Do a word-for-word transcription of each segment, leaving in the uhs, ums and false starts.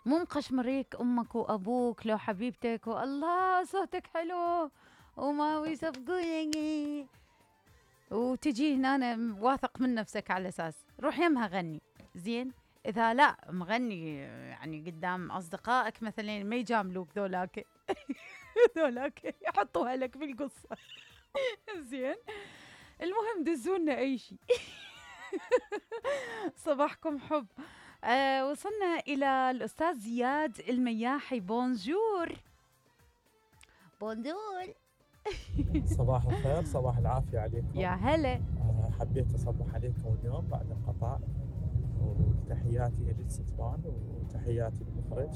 مو مقشمريك امك وابوك لو حبيبتك والله صوتك حلو وما يصفقونك وتجي هنا واثق من نفسك على اساس روح يمها غني زين. اذا لا مغني يعني قدام اصدقائك مثلا ما يجاملوك ذولاك ذولاك يحطوها لك بالقصه زين. المهم دزونا اي شيء. صباحكم حب. آه وصلنا الى الاستاذ زياد المياحي. بونجور. بونجور. صباح الخير، صباح العافية عليكم. يا هلا. حبيت أصبح عليكم اليوم بعد انقطاع، وتحياتي للستبان وتحياتي للمخرج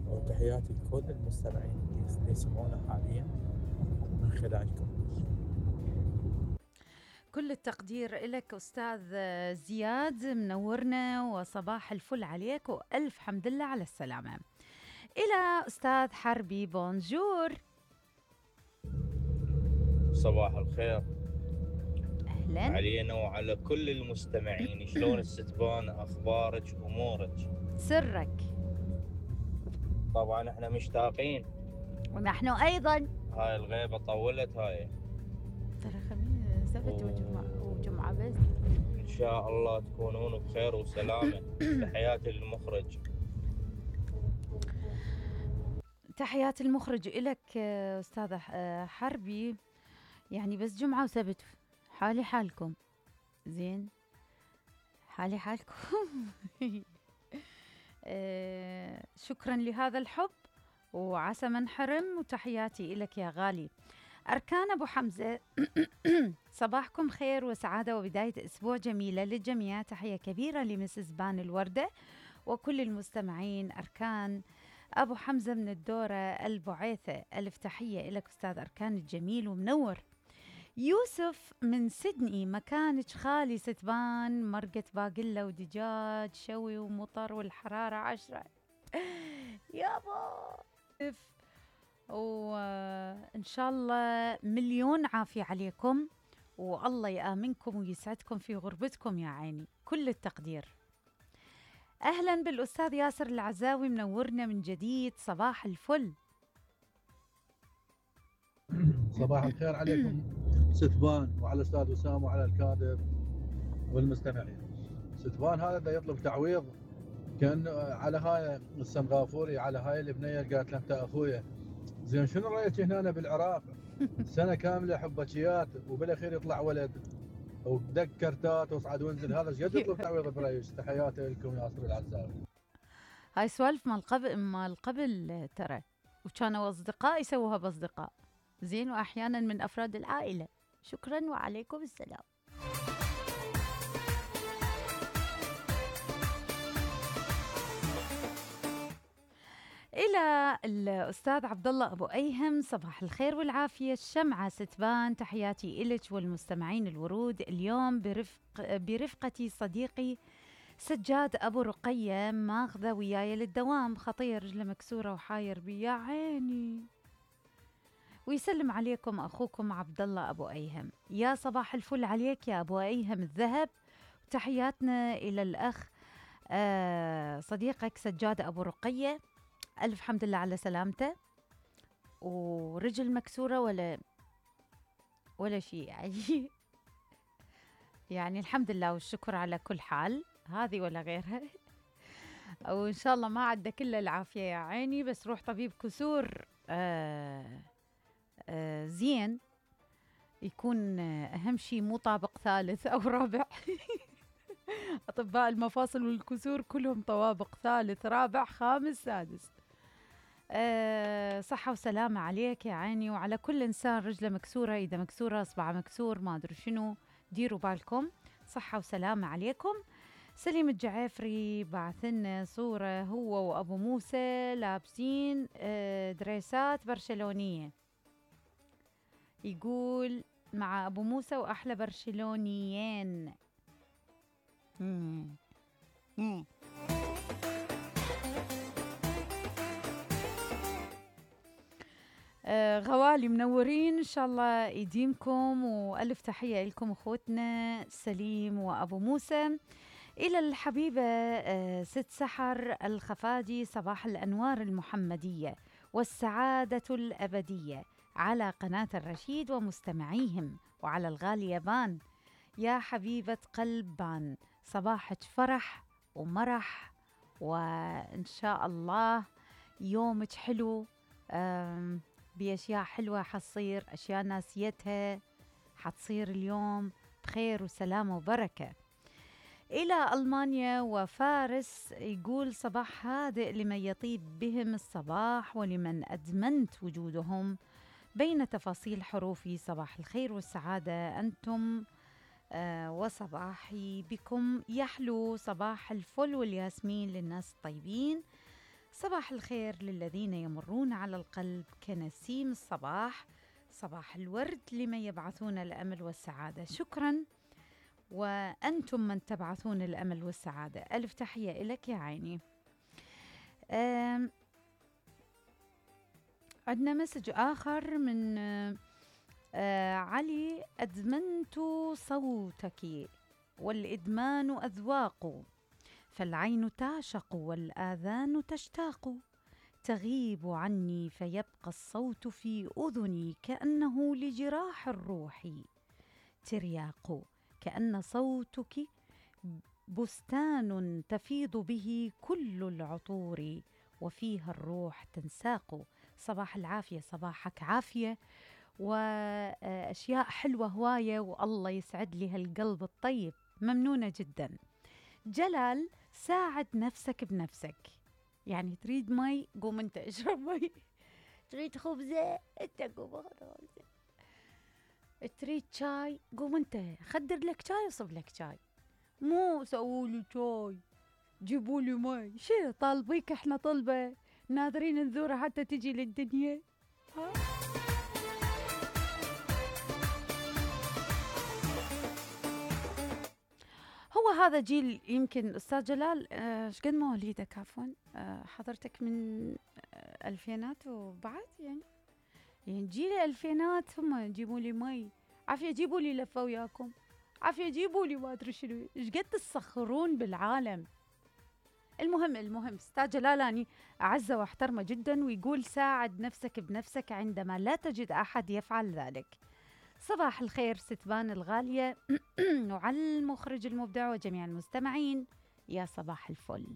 وتحياتي لكل المستمعين اللي يسمعونا حاليا من خلالكم. كل التقدير لك أستاذ زياد، منورنا وصباح الفل عليك وألف حمد لله على السلامة. إلى أستاذ حربي. بونجور. صباح الخير. أهلا علينا وعلى كل المستمعين. شلون الستبان؟ أخبارك أمورك؟ سرك. طبعا احنا مشتاقين ونحن أيضا. هاي الغيبة طولت هاي. ترى خميس سبت وجمعة وجمعة بس. إن شاء الله تكونون بخير وسلامة. تحياتي للمخرج. تحيات المخرج إلك أستاذ حربي. يعني بس جمعة وسبت حالي حالكم زين، حالي حالكم. آه شكرا لهذا الحب وعسى ما انحرم، وتحياتي إلك يا غالي. أركان أبو حمزة. صباحكم خير وسعادة وبداية أسبوع جميلة للجميع. تحية كبيرة لمسز بان الوردة وكل المستمعين. أركان أبو حمزة من الدورة البعيثة، ألف تحية إلك أستاذ أركان الجميل ومنور. يوسف من سيدني، مكانك خالي ستبان، مرقة باقلة ودجاج شوي ومطر والحرارة عشرة. يابا وإن شاء الله مليون عافية عليكم، والله يآمنكم ويسعدكم في غربتكم يا عيني. كل التقدير. أهلا بالأستاذ ياسر العزاوي، منورنا من جديد. صباح الفل. صباح الخير عليكم ستبان وعلى الأستاذ وسام وعلى الكادر والمستمعين. ستبان هذا دا يطلب تعويض، كان على هاي السنغافوري، على هاي البنية قالت له أنت أخويا. زين شنو رأيك هنا بالعراق سنة كاملة حبكيات وبالأخير يطلع ولد ودق كرتات وصعد وانزل، هذا ايش قد يطلب تعويض برأيك؟ تحياتي لكم ياسر العزاوي. هاي سوالف مال قبل مال قبل ترى، وكانوا أصدقاء يسووها بأصدقاء زين، وأحيانا من أفراد العائلة. شكرا وعليكم السلام. إلى الأستاذ عبد الله أبو أيهم. صباح الخير والعافية. الشمعة ستبان، تحياتي إلك والمستمعين الورود. اليوم برفق برفقتي صديقي سجاد أبو رقية، ماخذة وياي للدوام، خطير رجله مكسورة وحاير بي يا عيني. ويسلم عليكم أخوكم عبد الله أبو أيهم. يا صباح الفل عليك يا أبو أيهم الذهب. تحياتنا إلى الأخ آه صديقك سجاد أبو رقية، ألف حمد لله على سلامته. ورجل مكسورة ولا ولا شيء يعني. يعني الحمد لله والشكر على كل حال، هذه ولا غيرها. وإن شاء الله ما عدى كل العافية يا عيني، بس روح طبيب كسور آه آه زين، يكون أهم شيء مو طابق ثالث أو رابع. أطباء المفاصل والكسور كلهم طوابق ثالث رابع خامس سادس. أه صحة وسلامة عليك يا عيني، وعلى كل إنسان رجله مكسورة، إذا مكسورة أصبع مكسور ما أدري شنو، ديروا بالكم. صحة وسلامة عليكم. سليم الجعافري بعثنا صورة هو وأبو موسى لابسين أه دريسات برشلونية، يقول مع أبو موسى وأحلى برشلونيين. مم. مم. آه غوالي منورين، إن شاء الله يديمكم، وألف تحية لكم أخوتنا سليم وأبو موسى. إلى الحبيبة آه، ست سحر الخفاجي، صباح الأنوار المحمدية والسعادة الأبدية على قناة الرشيد ومستمعيهم، وعلى الغالية بان يا حبيبة قلب بان، صباحك فرح ومرح، وإن شاء الله يومك حلو، آم، بأشياء حلوة حتصير، أشياء ناسيتها حتصير اليوم بخير وسلامة وبركة. إلى ألمانيا وفارس يقول صباح هادئ لمن يطيب بهم الصباح ولمن أدمنت وجودهم بين تفاصيل حروفي، صباح الخير والسعادة أنتم آه وصباحي بكم يحلو، صباح الفل والياسمين للناس الطيبين، صباح الخير للذين يمرون على القلب كنسيم الصباح، صباح الورد لمن يبعثون الأمل والسعادة. شكراً، وأنتم من تبعثون الأمل والسعادة. ألف تحية لك يا عيني. عندنا مسج آخر من آه علي، أدمنت صوتك والإدمان أذواق، فالعين تعشق والآذان تشتاق، تغيب عني فيبقى الصوت في أذني كأنه لجراح الروح ترياق، كأن صوتك بستان تفيض به كل العطور وفيها الروح تنساق. صباح العافية، صباحك عافية وأشياء حلوة هواية، والله يسعد لي هالقلب الطيب، ممنونة جدا. جلال، ساعد نفسك بنفسك، يعني تريد مي قوم انت اشرب مي، تريد خبزة انت قوم اخذ خبزة، تريد شاي قوم انت خدر لك شاي وصب لك شاي، مو سوولي شاي جيبولي مي. شو طالبيك احنا طلبة ناظرين نزورها حتى تجي للدنيا؟ ها؟ هو هذا جيل يمكن أستاذ جلال، ايش قد مواليدك عفوا؟ آه حضرتك من آه الفينات وبعد، يعني يعني جيل الألفينات هم يجيبوا لي مي، عافية جيبوا لي لفة وياكم، عافية جيبوا لي ما أدري شنو، إيش قد تسخرون بالعالم. المهم المهم أستاذ جلالاني أعزه واحترمه جدا، ويقول ساعد نفسك بنفسك عندما لا تجد أحد يفعل ذلك. صباح الخير ستبان الغالية وعلى المخرج المبدع وجميع المستمعين، يا صباح الفل.